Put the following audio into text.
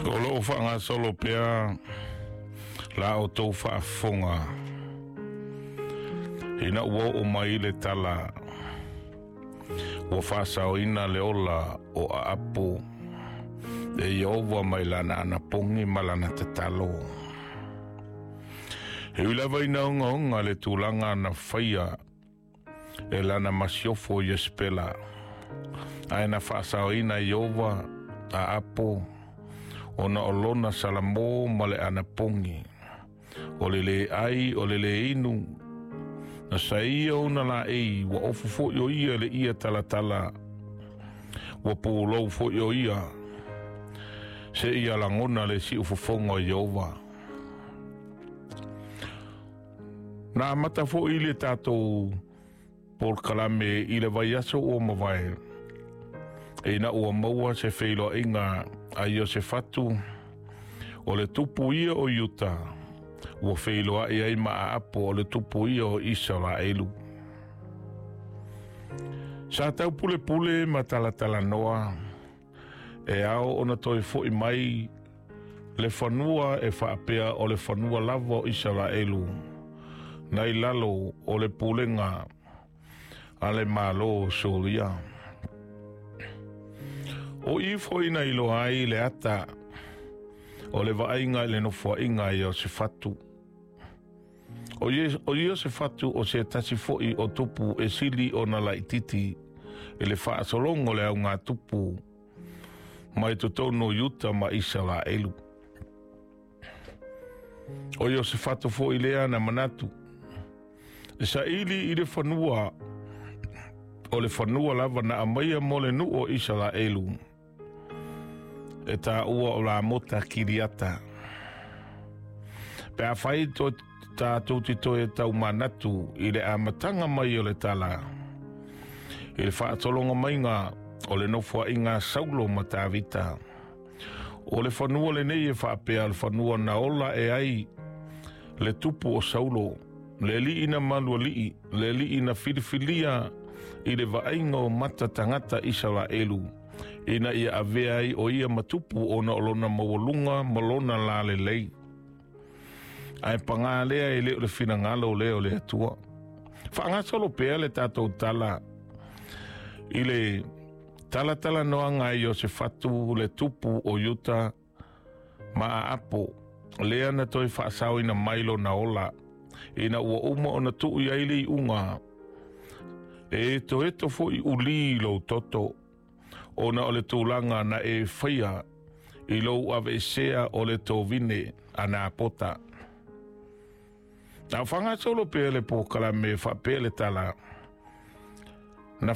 O loo faagasolo pea la outou faafofoga ina ua oo mai le tala ua faasaoina le ola o Aapo e Ieova mai lana anapogi ma lana tatalo. E ui lava ina ogaoga le tulaga na faia e lana masiofo Iesepela, ae na faasaoina e Ieova Aapo ona o lona salamo ma le anapogi, o le lē ai o le lē inu, na saia ona laei ua ofu foi o ia le ia talatala, ua pulou foi o ia, se ia lagona le siufofoga o Ieova. Na amata foi le tatou polokalame i le vaiaso ua mavae, ina ua maua se feiloaiga a Iosefatu, o le tupu ia o Iuta, ua feiloai ai ma Aapo o le tupu ia o Isaraelu. Sa tau pulepule ma talatalanoa, e ao ona toe foi mai le fanua e faapea o le fanua lava o Isaraelu, nai lalo o le pulega a le Malo o Suria. O i foi na iloa ai le ata o le vaaiga i le nofoaiga a Iosefatu. O Iosefatu o se tasi foi o tupu e sili ona laititi i le faasologa o le augatupu mai totonu o Iuta ma Isaraelu. O Iosefatu foi lea na manatu e saili i le fanua o le fanua lava na aumaia mo le nuu o Isaraelu e taua o Ramota Kiriata. Pe afai tatou te toe taumanatu i le amataga mai o le tala, i le faatologa maiga o le nofoaiga a Saulo ma Tavita, o le fanua lenei e faapea o le fanua na ola e ai le tupu o Saulo, le alii na malualii, le alii na filifilia i le vaaiga o mata tagata Isaraelu, ina ia avea ai o ia ma tupu ona o lona maualuga ma lona lalelei. Ae paga lea e le o le finagalo lea o le Atua. Faagasolo pea le tatou tala i le talatalanoaga a Iosefatu le tupu o Iuta ma Aapo, lea na toe faasaoina mai lona ola, ina ua uma ona tuu i ai le iuga, e etoeto foi ulī lou toto, ona o le tulaga na e faia i lou aveesea o le tovine a Napota. Na o faagasolo pea le polokalame faapea le tala, na